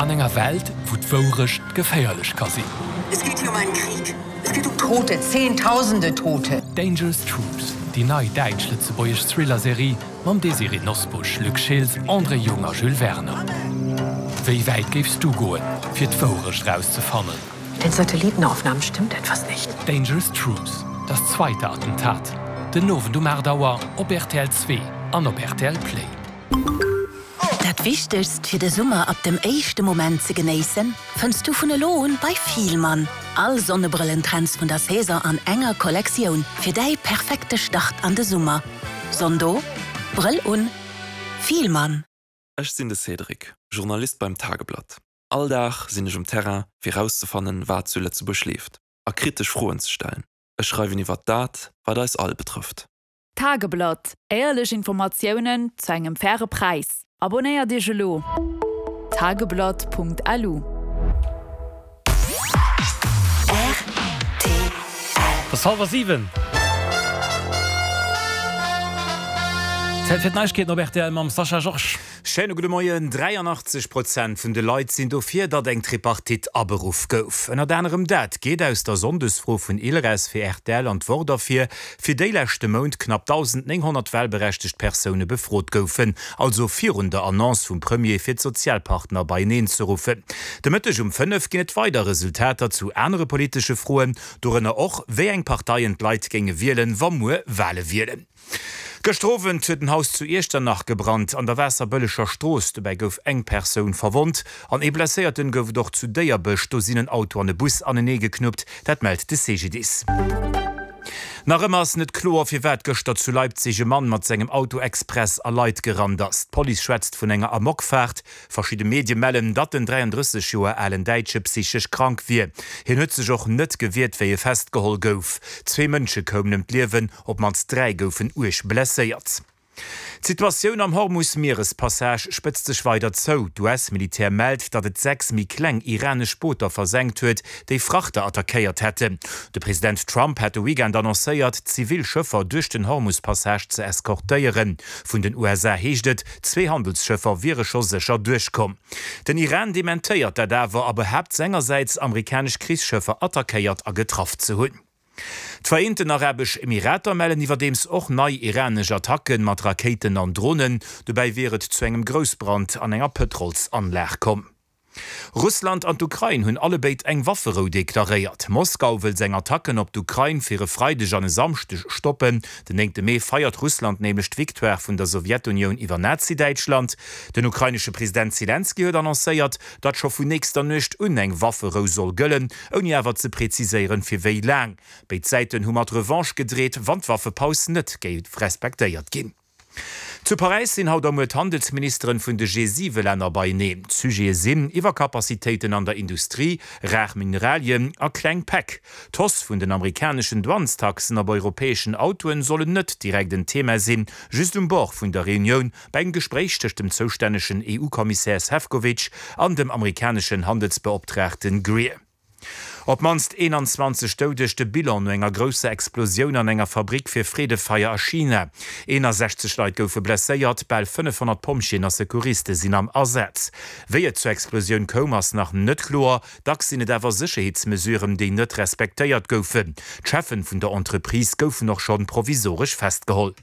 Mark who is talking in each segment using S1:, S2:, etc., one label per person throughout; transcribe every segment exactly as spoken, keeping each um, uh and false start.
S1: An enger Welt, wou d'Wourecht geféierlech ka sinn.
S2: Es geht hier um einen Krieg. Es geht um Tote, Zehntausende Tote.
S1: Dangerous Truths, déi nei däitsch-lëtzebuergesch Thriller-Serie mam Désirée Nosbusch, Luc Schiltz, André Jung a Jules Werner. Wéi wäit géifs du goen, fir d'Wourecht rauszefannen?
S2: Mit den Satellitenaufnahmen stimmt etwas nicht.
S1: Dangerous Truths, Das zweite Attentat, den Owend um aacht Auer op rtl Zwee an op rtl Play.
S3: Dat Wichtegst fir de Summer ab dem éischte Moment ze genéissen, fënns du vun elo un bei Fielmann. All Sonnebrëllentrends vun der Saison an enger Kollektioun fir däi perfekte Start an de Summer. Sonn do, Brëll un, Fielmann.
S4: Ech sinn de Cédric, Journalist beim Tageblatt. All Dag sinn ech um Terrain, fir rauszefannen, wat zu Lëtzebuerg leeft, a kritesch Froen ze stellen. Ech schreiwen iwwer dat, wat eis all betrëfft.
S5: Tageblatt, Éierlech Informatiounen zu engem faire Präis. Abonéiert Iech elo! Tageblatt.lu.
S6: Et ass hallwer siwen. Zäit fir d'Neiegkeeten op rtl mam Sascha Georges.
S7: Schéine gudde Moien. dräianachtzeg Prozent vun de Leit sinn dofir, datt eng Tripartite aberuff gouf. Ënnert anerem dat geet aus der Sonndesfro vun Ilres fir rtl an d'Wort ervir, fir déi leschte Mount knapp dausendnénghonnert walberechtegt Persoune befrot goufen, also virun der Annonce vum Premier fir d'Sozialpartner beieneen ze ruffen. De Mëtteg um fënnef ginn et weider Resultater zu anere politesche Froen, dorënner och, wéi eng Parteien d'Leit géinge wielen, wa muer Wale wieren. Gëschter Owend huet en Haus zu Iechternach gebrannt, an der Waasserbëlleger Strooss. Dobäi gouf eng Persoun verwonnt an ee Blesséierten gouf et och zu Déierbech. Do sinn en Auto an e Bus anenee geknuppt, dat mellt de C G D I S. Nach ëmmer ass net kloer, firwat gëschter zu Leipzig e Mann mat sengem Auto express a Leit gerannt ass. D'Police schwätzt vun enger Amokfaart. Verschidde Medie mellen, datt den dräianddrësseg Joer alen Däitsche psychesch krank wier. Hien huet sech och net gewiert, wéi e festgeholl gouf. Zwee Mënsche koumen ëm d'Liewen, op d'mannst dräi goufen uerg blesséiert. D'Situatioun am Hormus-Mierespassage spëtzt sech weider zou. D'U S-Militär mellt, datt et sechs méi kleng iranesch Booter versenkt huet, déi Frachter attackéiert hätten. De President Trump hat de Weekend annoncéiert, zivil Schëffer duerch den Hormus-Passage ze eskortéieren. Vun den U S A heescht et, zwee Handelsschëffer wiere scho sécher duerchkomm. Den Iran dementéiert dat awer a behaapt sengersäits, amerikanesch Krichsschëffer attackéiert a getraff ze hunn. D'Vereenten Arabesch Emirater mellen iwwerdeems och nei iranesch Attacke mat Rakéiten an Dronen. Dobäi wier et zu engem Groussbrand an enger Pëtrolsanlag komm. Russland an d'Ukrain hunn allebéid eng Wafferou deklaréiert. Moskau wëll seng Attacken op d'Ukrain fir e Freideg an e Samschdeg stoppen. Den néngte Mee feiert Russland nämlech d'Victoire vun der Sowjetunioun iwwer Nazi-Däitschland. Den ukrainesche President Selenskyj huet annoncéiert, datt scho vun nächster Nuecht un eng Wafferou soll gëllen, ouni awer ze preziséieren, fir wéi laang. Béid Säiten hu mat Revanche gedreet, wann d'Waffepaus net géif respektéiert ginn. Zu Paräis sinn haut a muer d'Handelsministeren vun de G siwe Länner beieneen. D'Sujete sinn Iwwerkapazitéiten an der Industrie, rar Mineralien a kleng Päck. D'Hausse vun den amerikaneschen Douanestaxen op europäeschen Autoen sollen net direkt en Thema sinn, just um Bord vun der Reunioun bei engem Gespréich tëscht dem zoustännegen E U-Kommissär Sefcovic an dem amerikaneschen Handelsbeoptraagten Greer. Op d'mannst eenanzwanzeg Doudeg, de Bilan no enger grousser Explosioun an enger Fabrick fir Freedefeier a China. eenasechzeg Leit goufe blesséiert, bal fënnefhonnert Pompjeeën a Secouriste sinn am Asaz. Wéi et zur Explosioun koum, ass nach net kloer. Dacks sinn et awer Sécherheetsmesuren, déi net respektéiert goufen. D'Cheffen vun der Entreprise goufen och schonn provisoresch festgeholl.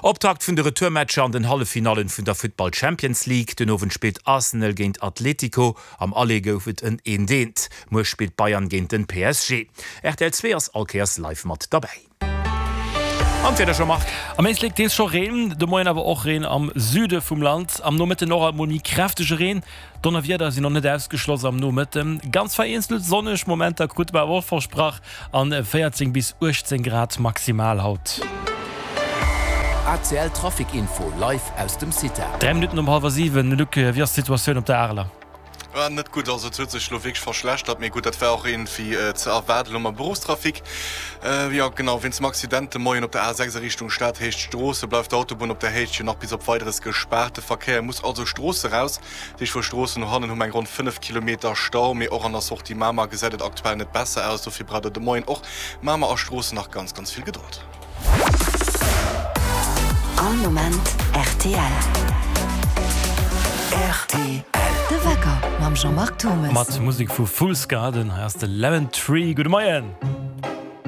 S7: Optakt vun de Retourmatcher an den Halleffinallen vun der Futtball Champions League. Den Owend spillt Arsenal géint Atletico. Am Aller gouf et en eent eent. Muer spillt Bayern géint den P S G. Rtl zwee ass all Kéiers live mat derbäi. An d'Wieder, Jean-Marc.
S6: Am Éislek deels scho Reen, de Moien awer och Reen am Süde vum Land. Am Nomëtten och alt mol méi kräftege Reen. Donnerwieder sinn och net ausgeschloss am Nomëtten. Ganz vereenzelt sonneg Momenter krute mer awer och versprach an véierzéng bis uechtzéng Grad maximal haut.
S8: A C L Trafic Info live aus dem CITA.
S6: Dräi Minutten um hallwer siwen. Luc, wéi ass d'Situatioun op der Areler?
S9: War net gutt, also et huet sech elo wierklech verschlechtert, mee gutt, dat war och iergendwéi ze erwaarden elo mam Beruffstrafic. Jo genau, wéinst dem Accident de Moien op der A sechs a Richtung Stad, Héicht Stroosse, bleift d'Autobunn op der Héicht jo nach bis op Weideres gespaart. De Verkéier muss also Stroosse raus. Dat heescht vu Stroossen no hannen hu mer eng ronn fënnef Kilometer Stau, mee och an der Sortie Mamer gesäit et aktuell net besser aus. Dofir braucht der de Moien och Mamer a Stroossen nach ganz, ganz vill Gedold.
S3: All Moment rtl.
S8: Rtl.
S10: De Wecker mam Jean-Marc Thomes.
S6: Mat Musek vu Fool's Garden. Hei ass de Lemon Tree. Gudde Moien.